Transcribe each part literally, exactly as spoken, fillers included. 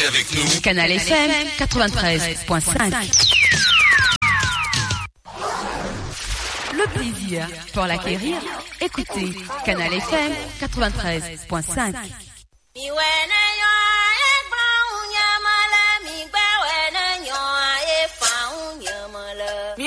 Avec nous. Canal F M quatre-vingt-treize point cinq. Le plaisir pour l'acquérir, écoutez Canal F M quatre-vingt-treize point cinq. Mi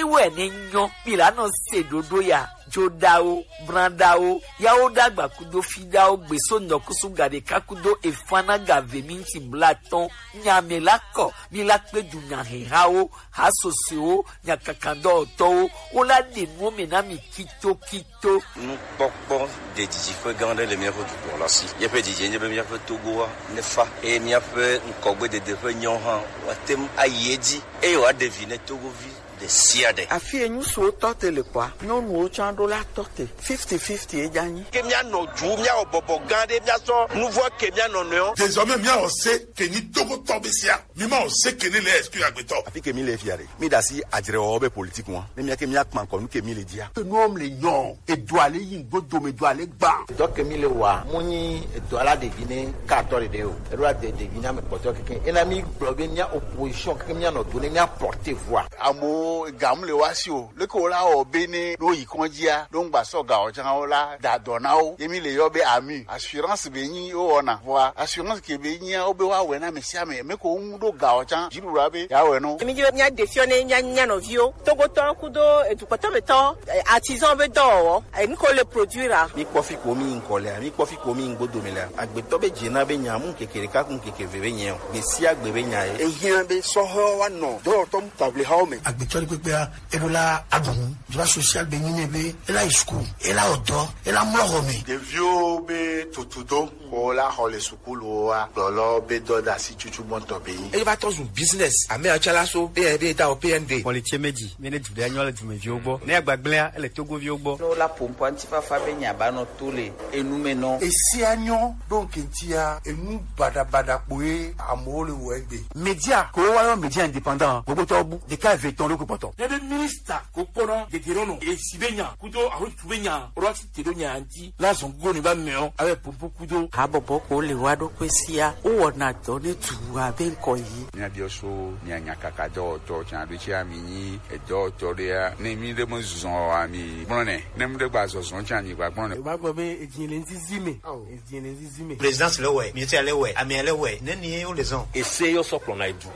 wɛ ne nyɔ, mi la nɔ se ɖoɖo ya. Joɖawo, branɖawo, yawo ɖagba kudo fiɖawo gbeso nɔkusu gaɖeka kudo efana gave minti blatɔn. Nya mɛ la kɔ, mi la kpe du nya hehawo, ha sosoewo, nya kakandɔwɔtɔwo, wo la ɖe nuwo mɛ na mi kitokito. Nukpɔkpɔ ɖe didi ƒe gã aɖe le míaƒe dukɔ la si. Míaƒe didi nye be míaƒe Togoa nefa eye míaƒe ŋkɔgbedede ƒe nyawo hã woate ŋu ayi edzi eye wòaɖe vi ne Togovi ɖe sia ɖe. Afi yi ŋutsuwo tɔ te le kɔa, nyɔnuwo tsã ɖo la tɔ te. Fifty fifty ye dza nyi. Ke míanɔ du, míawɔ bɔbɔ gã aɖe, míasɔ nuvɔ ke mía nɔnɔewo. Désormais, míawɔ se ke nyi Togotɔ be sia. Mi ma wɔ se ke ne le exclu agbetɔ. Afi ke mi le fia ɖe, mi ɖe asi adzrewɔwɔ be politique ŋua. Ne mía ke mía kpa ŋkɔ nu ke mi le dzia. Enuwo le nyɔ, edo ale yi ŋgbo dome do ale gba. Dɔ ke mi le wa, mu nyi edo ala ɖevi ne ka atɔ ɖeɖe o. Eɖo ade ɖevi na me kpɔtɔ keke. Ena mi gblɔ be mía opposition keke mía nɔ do ne mía porter voix. Amewo ga mu le wa si o. Leke wo la wɔ be ne ɖo yi kɔndzia, ɖo ŋgba sɔ ga wɔ tsã wo la da dɔ na wo. Ye mi le yɔ be ami. Assurance be nyi wo wɔna. Vɔa assurance ke be nyia wo be wa wɛ na ame sia ame. Me ko ŋu ɖo ga wɔ tsã. Dziɖuɖua be ya wɛ no. Mi dzi be mía ɖe fiɔ ne mía nya nɔviwo. Togotɔ kudo edukpɔtɔ be tɔ, eh, artisan be dɔwɔwɔ. Eh, nu ko le produire a. Mi kpɔ fi ko mi ŋkɔ lea, mi kpɔ fi ko mi ŋgbo dome lea. Agbetɔ be dze na be nya mu keke ɖeka ku keke ve be nyɛ o. Gbe sia gbe be nya ye. Ehiã be sɔhɔ wa nɔ dɔwɔtɔ mu table hawo me. Agbetɔ ɖe kpekpea, eɖo la aɖu nu. Droit social be nyi nɛ be ela yi school, ela wɔ dɔ, ela mlɔ xɔ me. Ɖeviwo be tutudo ko la xɔ le sukuluwo wa gblɔlɔ be dɔdasi tsutsu gbɔntɔ be nyi. Eye va tɔ zu business. Ame atsalaso be be ta o P N D. Xɔ le tse me dzi, mi ne du ɖe anyɔ le dumeviwo gbɔ. Ne agbagblẽa, ele Togoviwo gbɔ. Ne wola ƒo ŋkɔ ŋutifafa be nya ba nɔ to le enu me nɔ. Esia nyɔ ɖo ŋkɛntia, enu baɖabaɖa kpoe amewo le wɔ egbe. Media, ko wa yɔ media indépendant, gbogbo tɔ bu, ɖeka eve etɔ̃ ɖo ko kpɔtɔ. Ne be minista ko kpɔna dede ɖo nɔ, esi be nya, kudo alo tu be nya, ro asi te ɖo nya ŋuti, la zɔn go ne ba mɛ o, abe popo kudo. Habɔbɔ ko le wa ɖo kpe sia, wo wɔna dɔ ne tu abe ŋkɔ yi. Mía biɔ so, mía nya kaka dɔwɔtɔ, tsa ɖo tsi ami nyi, edɔwɔtɔ ɖea, ne mi ɖe me zɔn ami gblɔ nɛ, ne mi ɖe gba zɔzɔ tsa mi gba gblɔ nɛ. Eva gblɔ be edzi le ŋzizi me. Ao. Edzi le ŋzizi me. Présidence le wɛ, ministère le wɛ, amea le wɛ, ne ni ye wo le zɔn. Ese yɔ sɔ kplɔna edu.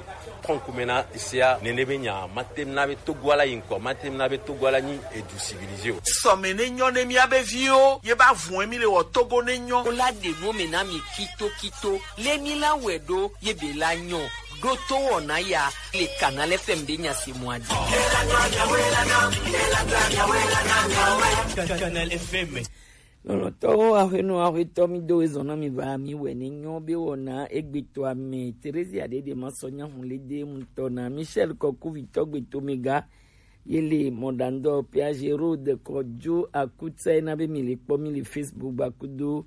Kɔnkume na esea, nene be nya, mate na be Togo ala yi ŋkɔ, mate na be Togo ala nyi edu civilisé o. Sɔme ne nyɔ ne mía be viwo, ye ba vun mi le wɔ Togo ne nyɔ. Wo la ɖe nu me na mi kito kito, le mi la wɛ ɖo, ye be la nyɔ, ɖo to wɔna ya, le Canal F M be nya se mɔ adi. Canal F M. Lɔlɔ̃tɔwo, aƒenɔ, aƒetɔ, mi do ezɔ na mi va, mi wɛ ne nyɔ be wɔna egbetɔa me. Theresia ɖeɖe ma sɔ nya hu le de ŋutɔ na Michel Kɔkuvitɔ gbeto mega. Ye le mɔɖaŋdɔ Piaget Road kɔdzo akutsa na be mi le kpɔ mi le Facebook gba kudo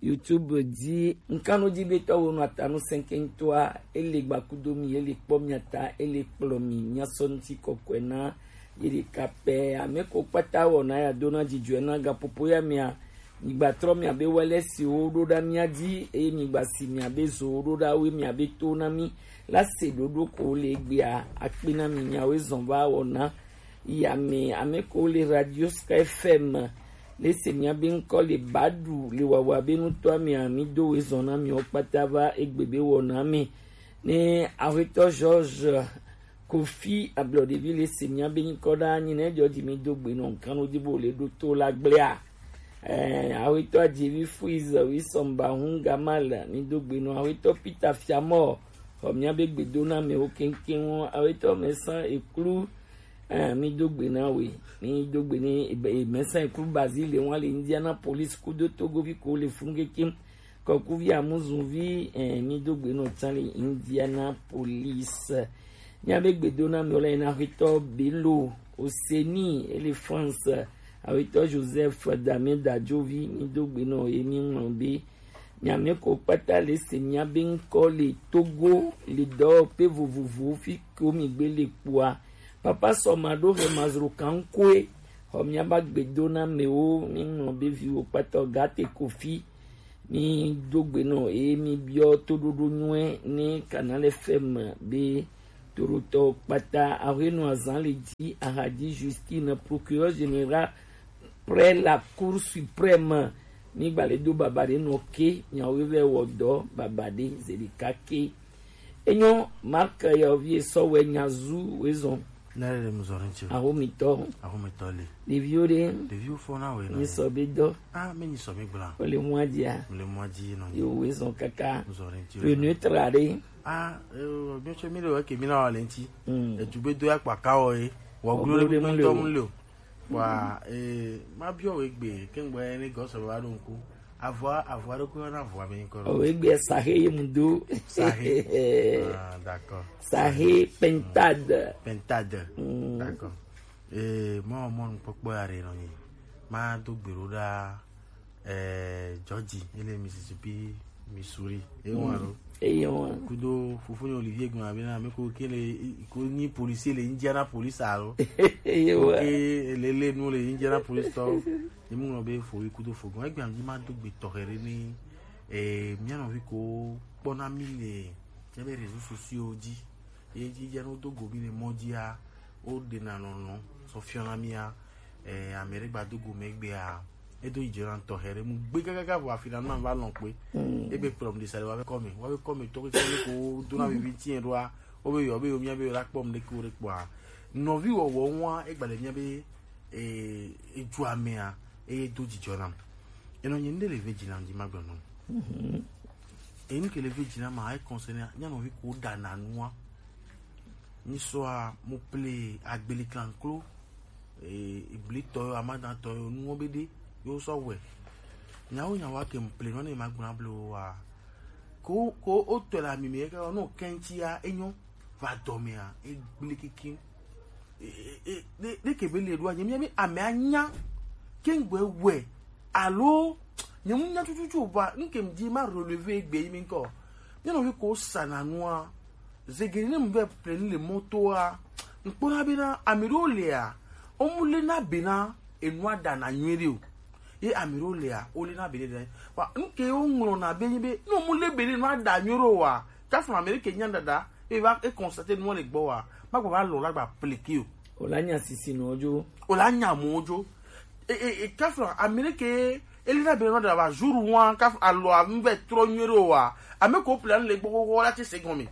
YouTube dzi. Ŋkanodzi be tɔwo nɔ atanu sɛnkɛntɔa, ele gba kudo mi, ele kpɔ mi ata, ele kplɔ mi, nya sɔ ŋuti kɔkɔe na ye ɖeka pɛ. Ame ko kpata wɔna ya dona dzidzɔe na gaƒoƒo ya mea, mi gba trɔ mia be wele siwo ɖo ɖa mia dzi, eye mi gba si mia be zowo ɖo ɖa, woe mia be to na mi. La se ɖoɖo ko le egbea, akpe na mi miawoe zɔn va wɔna. Ya me, ame ko le Radio Sky F M, le se mia be ŋkɔ le baɖu le wawa be nutɔa mea, mi do woe zɔn na miwo kpata va egbe be wɔna me. Ne Aƒetɔ George Kofi Ablɔɖevi le se mía be nyikɔ ɖa nyi ne dzɔ dzi mi do gbe nɔ ŋkan wo di bo le ɖo to la gblea. Eh, Aƒetɔ Adzevi Fuiz, Wisɔmba Hungamal, mi do gbe nɔ Aƒetɔ Peter Fiamɔ, xɔ mía be gbedo na amewo keŋkeŋ wo. Aƒetɔ Mɛsan Eklu, eh, mi do gbe na we, mi do gbe ne, eh, Mɛsan Eklu Bazile wa le Indianapolis kudo Togovi ko le funu keŋkeŋ. Kɔkuvi Amuzuvi, eh, mi do gbe nɔ tsa le Indianapolis. Mía be gbedo na mi wo le na Aƒetɔ Bello Oseni, ele France. Aƒetɔ Joseph Damien Dadjovi, mi do gbe nɔ ye mi ŋlɔ be. Mia me ko kpata le se mia be ŋkɔ le Togo, le dɔwɔƒe vovovowo fi ko mi gbe le kpoa. Papa sɔ ma ɖo he mazro kankoe. Xɔ mia ba gbedo na mewo, mi ŋlɔ be viwo kpata o, Gate Kofi. Mi do gbe nɔ eye mi biɔ toɖoɖo nyuie ne Canal F M be toɖotɔ kpata. Ahuenɔ azan le ji ahadi Justine, procureur général près la Cour suprême. Mi gba le do baba ɖe nɔ ke, nyawo vɛ wɔ dɔ baba ɖe zeɖeka ke. Enyo Mark yɔ vie sɔ wɛ nyazu wezɔn. Ne le mu zɔ ɖe ŋuti o. Ahomitɔ. Ahomitɔ le. Ɖeviwo ɖe. Ɖeviwo fɔ na wɛ nɔ. Mi sɔ be dɔ. Ah, mi nyi sɔ mi gbla. O le mɔ dia. Mi le mɔ di nɔ. Yo wezɔn kaka. Mu zɔ ɖe ŋuti o. Le neutre ɖe. Ah, eh, mi tsɔ mi le wɛ ke mi na wɔ le ŋuti. Mm. Etu be do ya kpa ka wɔ ye. Wɔ glo ɖe mu le o. Wa, eh, ma biɔ wɛ gbe, ke ŋgbɛ ne gɔsɔ ba ɖo ŋku. Avɔa, avɔa ɖokui yɔna avɔa be nyikɔ ɖo. O, egbe saxe ye mu do. Saxe. Ah, d'accord. Saxe pentade. Pentade. Mm. D'accord. Eh, mɔ, mɔ nukpɔkpɔ ya ɖe nɔ nyi. Ma do gbe ɖo ɖa, eh, Georgie, ele Mississippi, Missouri. E wa lo. Eye wa. Kudo fofonye Olivier gbɔna be na me ko ke le, ko nyi policier le Indiana police alo. Eye wa. Ke le le nu le Indiana police tɔ. Emu ŋlɔ be fo yi kudo fo gɔn. Egbe am di ma do gbe tɔxɛ ɖe ni, eh, mia nɔvi ko kpɔna mi le, tiɛ be réseaux sociaux dzi. Ye dzi dze no do go mi le mɔ dzia, wo ɖena nɔnɔ sɔ fiɔna mia, eh, ame ɖe gba do go me gbea, edo yi dzena tɔxɛ ɖe mu gbe kakaka vɔ afi na nu va lɔn kpe. Mm. Ebe kplɔm ɖe sa ɖe wa be kɔme, wa be kɔme tɔ keke ne ko dona vivi tiɛ ɖoa, wo be yɔ be yo mia be yo la kpɔm ɖe ko ɖe kpɔa. Nɔvi wɔwɔ ŋua, egba le mia be eh, edu amea, eye do dzidzɔ nam. Enɔ nye ŋɖe le ve dzi nam dzi magblɔ nɔ. Mhm. Enu ke le ve dzi nam ma, e concerne nyanɔvi ko ɖana nua. Nyisɔa, mo ple agbeli klanklo, eh, iblitɔ yo, amadatɔ yo, nuwo be ɖe, yo sɔ wɛ. Nyawo nyawo ake mo ple nɔ ne magblɔ na ble wo wa. Ko, ko o tɔ le ami me, ke no kɛntsia, enyo, va dɔ mea, egble kikin. E, e, e, ɖe, ɖe ke be le ɖo anyi, mia mi ame anya, ke ŋgbe wɛ, alo, nye mu nya tututu o ba, nke m di ma relever egbe yi mi ŋkɔ. Mia nɔvi ko sana nua, zegeni ne mu be ple ni le mɔtoa, ŋkpɔna be na, ame ɖewo lea, wo mu le na be na, enua ɖana nyuie ɖe o. Ye ame ɖewo lea, wo le na be ne ɖe. Wa, nke wo ŋlɔ na be nyi be, no mu le be ne enua ɖa nyuie ɖe o wa, kafu ame ɖe ke nya ɖaɖa, e va, e constater nua le gbɔ wa, ma gba va lɔ la gba pleke o. O la nya sisi nɔ dzo. O la nya mo dzo. E, e, e, kafu ame ɖe ke, e le na be ne enua ɖa va jour wa, kafu alɔ a mu vɛ trɔ nyuie ɖe o wa, ame ko plan le gbɔ xɔxɔ la tse se gɔme.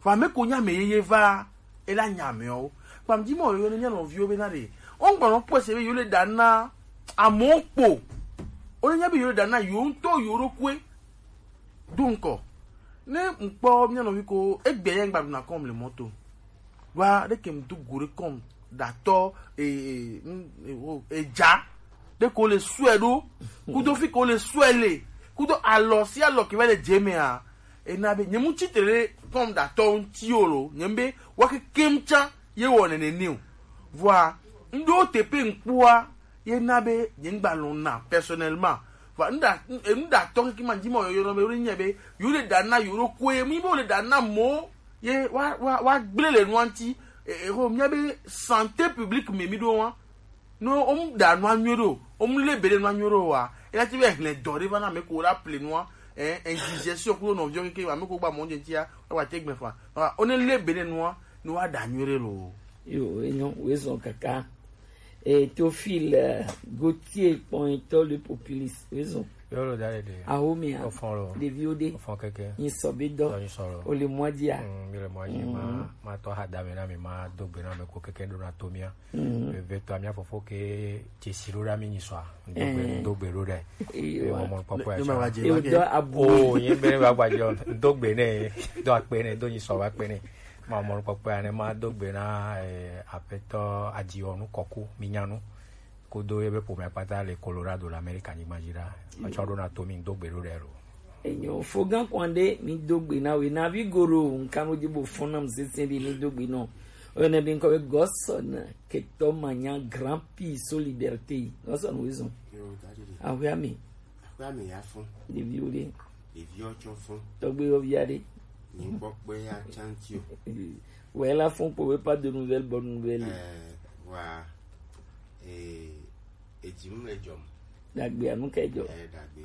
Fa ame ko nya me yeye va. Ela nya amewo. Kpam dzi mɔ yewo ne mía nɔviwo be na ɖe. Wo ŋgba nɔ kpɔe se be yewo le ɖa na amewo kpo. Wo ne nya be yewo le ɖa na yewo ŋutɔ yewo ɖokuiwo. Do ŋkɔ. Ne ŋkpɔ mía nɔvi ko egbe ya ŋgba ɖuna kɔm le mɔto. Wa ɖe ke ŋdu go ɖe kɔm ɖatɔ e, e, e, o, edza. Ɖe ko le sue ɖo. Kudo fi ko le sue le. Kudo alɔ si alɔ ke va le dze mea. Ena be nye mu tsitre ɖe kɔm ɖatɔ ŋuti o lo, nye be wa kekem tsã ye wɔ nene nɛ o. Vɔa, ŋɖewo te pe ŋkpɔa, ye na be nye ŋgba lɔ̃ na personnellement. Vɔa, ŋɖa, ŋɖatɔ keke ma dzi ma yɔyɔ nɔ be, wo le nya be, yo le ɖa na yo ɖo koe, mi be wo le ɖa na mɔ, ye wa, wa, wa gblẽ le nua ŋuti. E, e, ho, mía be santé publique me mi ɖo wa. No, wo mu ɖa nua nyuie ɖo, wo mu le be ɖe nua nyuie ɖo wa. Ela ti be hlẽ dɔ ɖe va na ame ko la ple nua, eh, indigestion kudo nɔviɔ keke, ame ko gba mɔ dze tia, wa te gbe fa. Wa, wo ne le be ɖe nua, no wa ɖa nyuie ɖe lo. Yo, enyo, wezɔn kaka. Eh, Théophile, eh, Gauthier, kpɔnyitɔ le populiste, wezɔn. Yo lo da le de. Ahomia. Ofɔn lo. Ɖeviwo ɖe. Ofɔn keke. Nyi sɔ be dɔ. Dɔ nyi sɔ lo. O le mɔ dia. Mm, mi le mɔ dzi, ma, ma tɔ ha da me na mi, ma do gbe na me ko keke ɖo na to mia. Mhm. Vevetɔa, mía fofo ke dzesi ɖo ɖa mí nyi sɔa. Ŋdo gbe, eh, ŋdo gbe ɖo ɖe. Ewa. Mɔ mɔ kpɔkpɔ ya. Ne, ne ma va dze, ewo ma dɔ ke abu. O, ye be ne va gba dze, ŋdo gbe nɛ, do akpe nɛ, do nyi sɔ va akpe nɛ. Ma mɔ kpɔkpɔ ya ne ma do gbe na, eh, apetɔ Adiwɔnu Kɔku, mi nya nu. Kudo ye be ƒomea kpata le Colorado le Amerika nyigba dzi ɖa. Etsɔ ɖo na to mí, ŋdo gbe ɖo ɖe lo. Enyo, fo gã kwan ɖe, mi do gbe na we, na vi goro, nkan wo dzi bo fɔn nam sese ɖi, mi do gbe nɔ. Oyɔnɛ be ŋkɔ be Godson Ketɔ Manya Grand Prix Solidarité. Godson wo zɔn. Yo, daddy. Ahwe ame. Ahwe ame ya fɔn. Ɖeviwo ɖe. Ɖeviwo tsɔ fɔn. Tɔgbe yo via ɖe. Ni kpɔkpɔ ya chanti o. Wɛ la fɔn kpɔ we pas de nouvelles, bonne nouvelle. Eh, wa. Eh, edzi mu le dzɔm. Dagbe anu ka dzɔ. Eh, dagbe.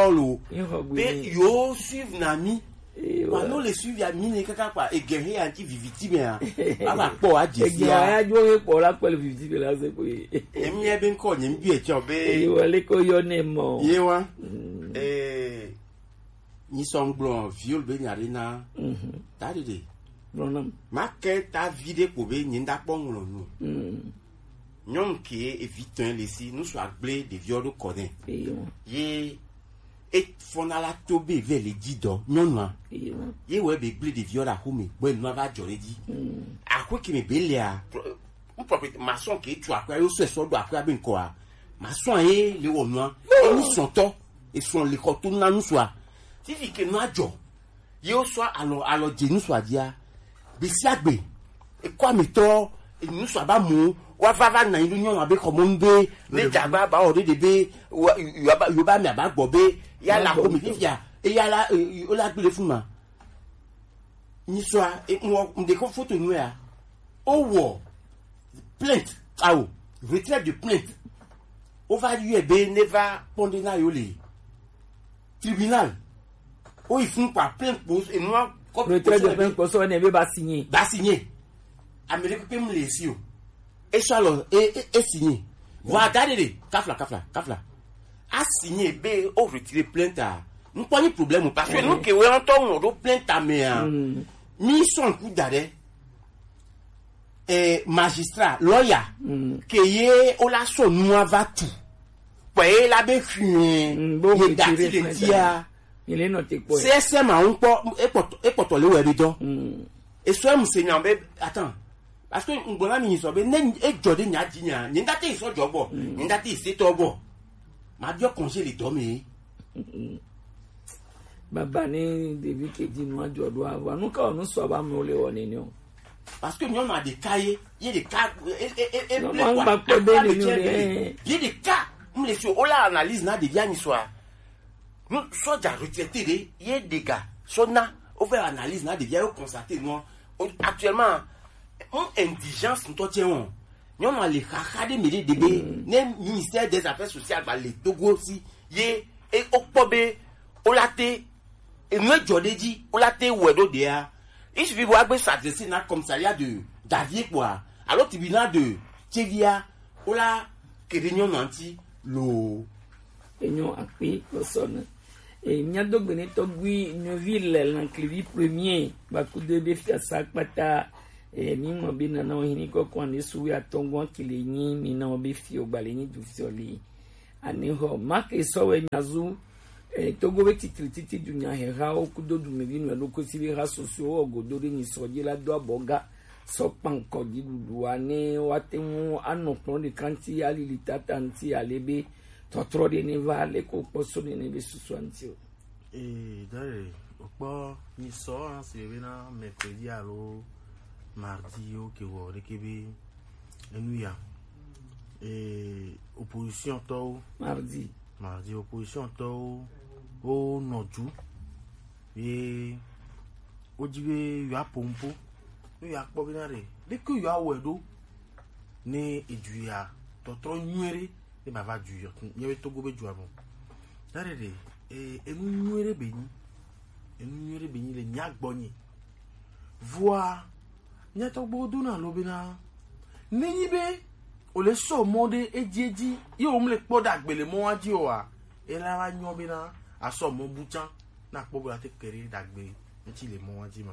tɔ lo. Be yo suivre na mi. Wa no le suivre ya mi ne kaka kpa ege he ya ti viviti me ya. Aba kpɔ wa je si ya. Ege ya jo he kpɔ la kpɔ le viviti me la se ko ye. Emi e be nkɔ nye mi bi e tsɔ be. Ye wa le ko yɔ ne mɔ. Ye wa. Eh, nyi sɔ ngblɔ viol be nya ɖe na. Da ɖeɖe. Gblɔ nam. Ma ke ta vi ɖe ko be nyi nda kpɔ ŋlɔ nu. Nyɔnu ke evi tɔn le si nu sɔ agble ɖeviɔ ɖo kɔ nɛ. Ye e fɔna la to be vɛ le dzi dɔ nyɔnua. Ye wɛ be gble ɖeviɔ ɖe axome gbɔ enua va dzɔ ɖe dzi. Axwe ke me be lea, n propre maçon ke tu axwe yo sɔ sɔ ɖo axwe be nkɔa. Maçon ye le wɔ nua. Enu sɔtɔ esɔ le xɔ to na nu sɔa. Fifi ke nua dzɔ. Ye wo sɔ alɔ alɔ dze nu sɔa dzia. Gbe sia gbe ekɔ ametɔ enu sɔa ba mu wa va va na yi ɖo nyɔnu abe xɔmɔnu be ne dzagba ba wɔ ɖe ɖe be wa yo ba yo ba mi aba gbɔ be ya la ko mi fifia e ya la e o la gbe le fun ma. Nyisɔa e mo de ko foto nu ya. O wɔ plainte awo retrait de plainte. O va yɔe be ne va pɔnde na yo le tribunal. O yi fun kpa plainte kpo enua kɔ retrait de plainte kpo sɔ ne be ba signé. Ba signé. Ame ɖe kpekpe mu le esi o. E sɔ alɔ e e e signé. Vɔ ada ɖe ɖe kafla kafla kafla. A signé be o retire plainte a. N kpɔ ni problème parce que nu ke wɛ ŋutɔ ŋlɔ ɖo plainte a mea. Mi sɔ ŋku da ɖe. Eh, magistrat lɔya ke ye o la sɔ nua va tu kpɔ ye la be fiɛ ye dati le tia. Sɛsɛ ma ŋkpɔ ekpɔtɔ le wɛ bi dɔ. Esɔ emu se nya be attends, parce que ŋgbɔ na mi sɔ be ne edzɔ de nya di nya nye ŋdate sɔ jɔ gbɔ nye ŋdate se tɔ gbɔ ma biɔ congé le dɔ me. Baba ni ɖevi ke di nua jɔ ɖo ava nu ka wɔ nu sɔ ba mi le wɔ nene o. Parce que nyɔnua ɖeka ye ye ɖeka e e e e ble kɔ akpa kɔ be nene o ɖe. Ye ɖeka mu le si o la analyse na ɖevia ni sɔa. Nu sɔdza retraité ɖe ye ɖega sɔ na o fɛ analyse na ɖevia yo constaté nua actuellement mu indigence ŋutɔ tse wɔn. Nyɔnua le xaxa ɖe mi ɖe ɖe be ne ministère des affaires sociales ba le Togo si ye e o kpɔ be o la te enu edzɔ ɖe dzi o la te wɔe ɖo ɖea. Il suffit be woagbe s'adresser na commissariat de Davie kpɔa alo tribunal de Tsevia o la ke ɖe nyɔnua ŋuti loo. Enyo akpi kpɔsɔ ne. E, mía do gbe ne tɔgbi nyɔvi le lanklivi premier gbakudo be fiasa kpata. E, mi mɔ be nana wo hini kɔkɔ ane su wi atɔngɔn kile nyi mi na wo be fio gbale nyi du fio le. Ane xɔ make sɔ wɛ nyazu. E, Togo be titri titi du nya he ha wo kudo du mi vi nu elo kosi be ha soso wo godo de nyi sɔ je la do abɔ ga sɔ kpankɔ ji dudu ane wa te mu anɔ kplɔ de kanti alili tata nti ale be tɔtrɔ de ne va le ko kpɔ so ne ne be susu anti o. Ee, dare, okpɔ nyisɔ hã si be na mercredi alo mardi yo ke wɔ ɖeke be enu ya. Ee, opposition tɔwo. Mardi. Mardi, opposition tɔwo wo nɔ du ye wodzi be yewoaƒo nuƒo ne yewoakpɔ bena ɖe ɖeke yewoawɔe ɖo ne edu ya tɔtrɔ nyuie ɖe ne bava du yɔ míabe Togo be dua me. Dare ɖe, e, enu nyuie ɖe be nyi. Enu nyuie ɖe be nyi le mía gbɔ nyi. Vɔa, mía tɔgbuiwo dona lo bena, nenyi be wòle sɔ mɔ ɖe edzi edzi, ye wòmle kpɔ ɖagbe le mɔa dzi oa, ela va nyɔ bena asɔ mɔ bu tsã, na kpɔ be ate ke ɖe ɖagbe ŋuti le mɔa dzi ma.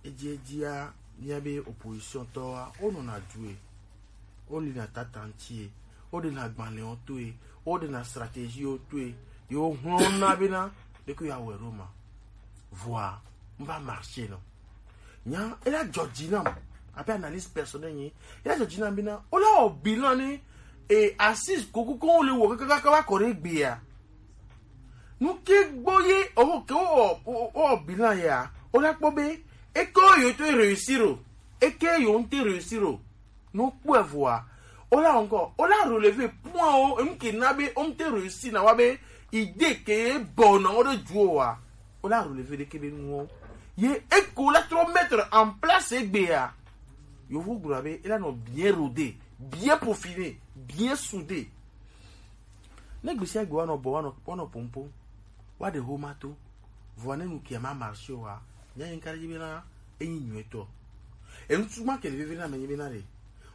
Edzi edzia, míabe opposition tɔwoa, wonɔna due, wolina tata ŋutie, woɖena agbalẽwo toe, woɖena stratégie wo toe, ye wohlɔ̃na bena ɖeke yewoawɔe ɖo ma. Vɔa, mva marché nɔ. Nya, ela dzɔ dzi nam, abe analyse personnelle nye, ela dzɔ dzi nam bena, wola wɔ bilan ne, e, assise kokoko wole wɔ kakaka va kɔ ɖe egbea. Nu ke gbɔ ye, oho, ke wo, wo, wo bilan ya, wola kpɔ be, eke wo yo to réussir o, eke yo ŋute réussir o. No kpɔe vɔa, wola encore, wola relever point wo, enu ke na be, wo ŋute réussir na wa be, idée ke bɔ na wo ɖe du o wa, wola relever ɖeke be nuwo. Ye eko la trɔ mettre en place egbea. Yovo gblɔ be, ela nɔ bien rodé, bien peaufiné, bien soudé. Ne gbe sia gbe woanɔ bɔ, woanɔ, woanɔ pompo, woaɖe xoma to, vɔa ne nu kia ma marché oa, mía nyi ka ɖe dzi bena enyi nyuietɔ. Enutu ma ke le veve na me nyi bena ɖe,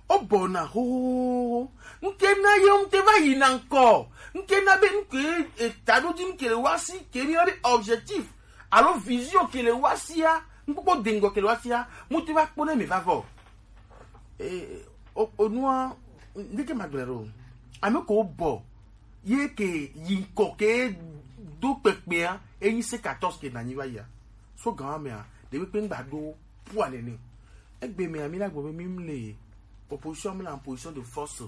wobɔna xoxoxo. Nuke na ye ŋute va yina ŋkɔ. Nuke na be nuke, e, ta ɖo dzi nuke le wa si, ke mi be objectif alo vision ke le wa sia, nukpɔkpɔ de ŋgɔ ke le wa sia, mute va kpɔ ne mi va vɔ. E, o, o nua, ndeke magblẽ ɖo. Ame ko bɔ, ye ke yi ŋkɔ ke do kpekpea, enyi C quatorze ke nanyi va yia. So gan mea, ɖe kpekpe ŋgba ɖo pua nene. Egbe mea, mi la gbɔ be mi mle opposition, mi la en position de force.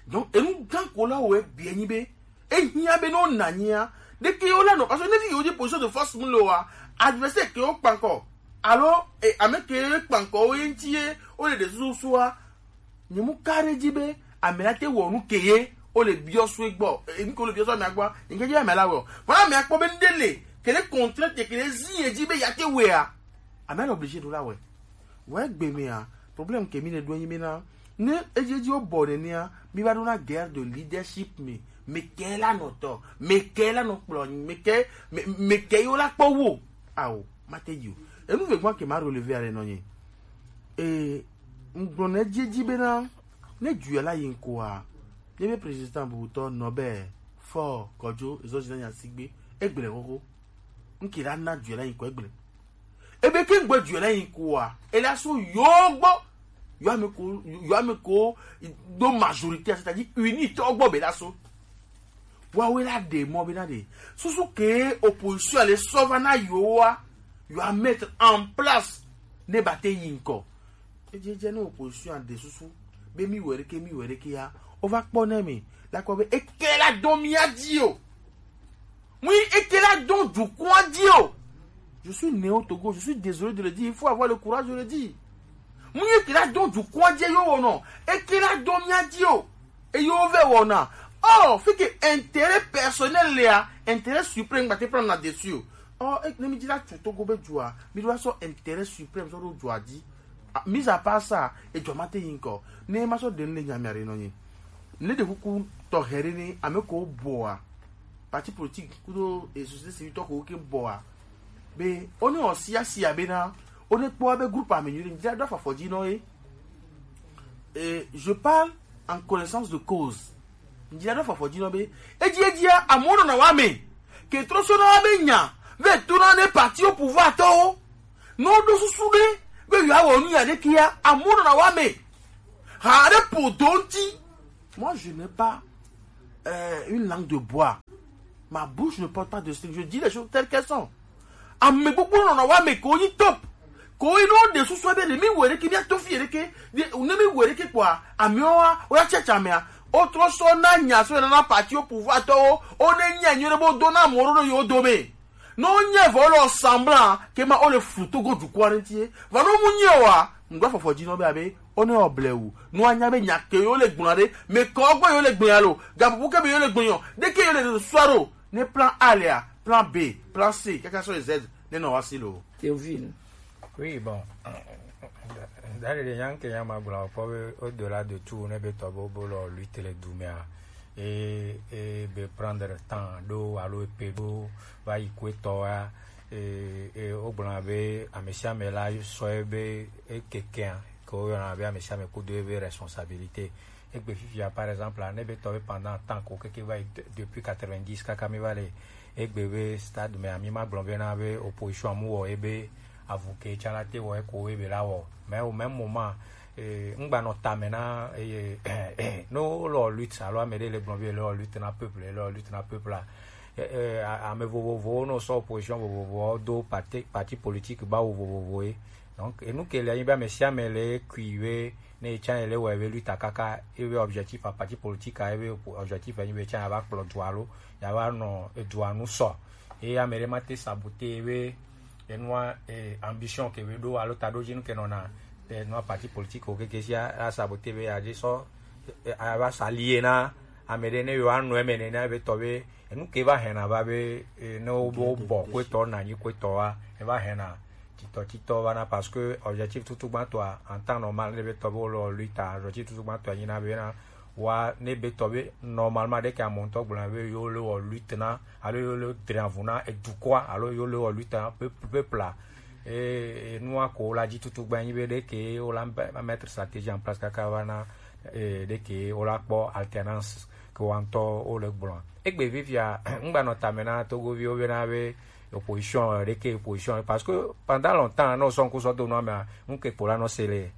Donc, enu gã ko la wɔ egbea nyi be, ehiã be ne wona anyia, ɖeke yewo la nɔ, parce que ne vi yewo dzi position de force mu le wa, adversaire ke wo kpankɔ, alo, e, ame ke kpankɔ wo ye ŋuti ye, wo le ɖe susu sua, nye mu ka ɖe dzi be, ame la te wɔ nu ke ye, wo le biɔ sue gbɔ, e, nu ke wo le biɔ sue amea gbɔ, nye ke dzi ame la wɔ. Vɔa amea kpɔ be nu ɖe le, ke ɖe contrainte, ke ɖe zi ye dzi be ya te wɔea, amea le obligé ɖo la wɔe. Vɔ egbe mea, problème ke mi le ɖo enyi bena, ne edziedzi wo bɔ nenea, mi va ɖona guerre de leadership me. Me ke la nɔ tɔ, me ke la nɔ kplɔ, me ke, me, me ke yo la kpɔ wo. Ao, ma te yi o. Enu ve gbɔn ke ma relever ale nɔ nyi. E, ŋgblɔ ne edziedzi bena, ne du ya la yi ŋkɔa, ne be président bubutɔ nɔ be, fɔ, kɔdzo, ezo zina nya sigbe, egble xoxo. Ŋke la na du ya la yi ŋkɔ egble. Ebe ke ŋgbe du la yi kua, ela so yo gbɔ, yo ame ko, yo ame ko do majorité, c'est-à-dire unité gbɔ be la so. Wa we la de mɔ be na de. Susu ke opposition le sɔ va na yo wa, yo a mettre en place ne ba te yi ŋkɔ. Edze dze ne opposition a de susu be mi wɛ ɖeke, mi wɛ ɖeke ya, o va kpɔ ne mi la kpɔ be eke la dɔn mia dzi o. Mu yi eke la dɔn dukɔa dzi o. Je suis né au Togo, je suis désolé de le dire, il faut avoir le courage de le dire. Mu yi eke la dɔn dukɔa dzi yo wɔnɔ, eke la dɔn mia dzi o. Eye wo vɛ wɔna. Oh, fi ke intérêt personnel lea, intérêt suprême gba te prendre na dessus o. Oh, e, ne mi dzi la tu Togo be dua, mi do sɔ intérêt suprême sɔ ɖo dua dzi. Ah, mis à part ça, edzɔ ma te yi ŋkɔ. Ne ma sɔ ɖe nu le nya mia ɖe nɔ nyi. Ne ɖe kuku tɔxɛ ɖe ne ame ko bɔa, parti politique kudo e société civile tɔ ko ke bɔa. Be, o ne o sia sia be na, o ne kpɔ be groupe ame nyuie, mi dzi la do afɔ dzi nɔ ye. Et je parle en connaissance de cause. Mi dzi la do afɔ dzi nɔ be, edzi edzia, amewo nɔna wa me. ke trɔ sɔ na wa be nya ve to na ne parti au pouvoir tɔwo. Ne woɖo susu ɖe be yewoawɔ nu ya ɖe kia, amewo nɔna wa me. Ha ɖe ƒo do ŋuti. Moi, je n'ai pas euh, une langue de bois. Ma bouche ne porte pas de string. Je dis les choses telles qu'elles sont. Ame gbogbo nɔna wa me ko yi top. Ko yi no de susu be ne mi were ke mi to fi ere ke. Ne mi were ke kwa. Ame wa o ya checha me a. O trɔ sɔ na nya so na parti au pouvoir tɔwo. O ne nya nyo bo do na moro no yo do me. No nye vɔ le semblant ke ma o le fluto go du kwa ntie. Va no mu nye wa. Ŋgba fɔfɔ dzi no be abe o ne o blewu. No anya be nya ke yo le gbɔna ɖe. Me kɔ gbe yo le gbɔna lo. Gabubu ke be yo le gbɔna. De ke yo le suaro. Ne plan A le a, plan B, plan C, quel que soit les aides, ne no wa si lo. Théophile. Oui, bon. Dali de yan ke yan ma gbla ko be au-delà de tout ne be to bo bo lo lutte le dumia. E e be prendre temps do alo e pe do va yi ko to a. E e o gbla be amesiame la so e be e keke ko yo na be amesiame ko do e be responsabilité. Egbe fifia, par exemple, ne be tɔ be pendant temps ko keke va yi de- depuis quatre-vingt-dix kaka mi va le egbe be stade me ami ma gblɔ be na be opposition amu wɔ ebe avu ke tsa la te wɔ eko ebe la wɔ. Mais au même moment, eh, ŋgba nɔ tame na eh, no lɔ lutte alo ame ɖe le gblɔ be le lutte na peuple, le lutte na peuple la. Eh, eh, a- ame vovovowo no sɔ opposition vovovowo do parti parti politique bawo vovovowo ye. Donc enu ke le anyi be ame sia ame le kui be ne etsã ele wɔ ebe luta kaka ebe objectif a parti politique a ebe objectif enyi be etsã ya va kplɔ dua lo ya va nɔ edua nu sɔ. Eye ame ɖe ma te sabote ebe enua eh, ambition ke be ɖo alo taɖodzinu ke nɔna enua parti politique o keke sia a sabote be ya dze sɔ eh, a va sa lie na ame ɖe ne yewoa nɔ eme nene be tɔ be enu ke va hɛna va be eh, ne wo be wo bɔ kuetɔ na anyi kuetɔ wa eva hɛna titɔ titɔ va na parce que objectif tutu gbãtɔa en temps normal ne be tɔ be wo le luta objectif tutu gbãtɔa nyi na be na wa ne be tɔ be normalement ɖe ke amewo ŋutɔ gblɔna be yewo le wɔ lutte na alo yewo le dre avu na edukɔa alo yewo le wɔ lutte na peuple peuple a e nua ko wo la dzi tutu gba nyi be ɖe ke wo la mettre stratégie en place kaka va na e ɖe ke wo la kpɔ alternance ke wa ŋutɔ wo le gblɔ egbe vivia ŋgba nɔ tame na togoviwo be na be opposition ɖe ke opposition parce que pendant longtemps ne wo sɔ ŋku sɔ do nua mea ŋke kpo la nɔ se le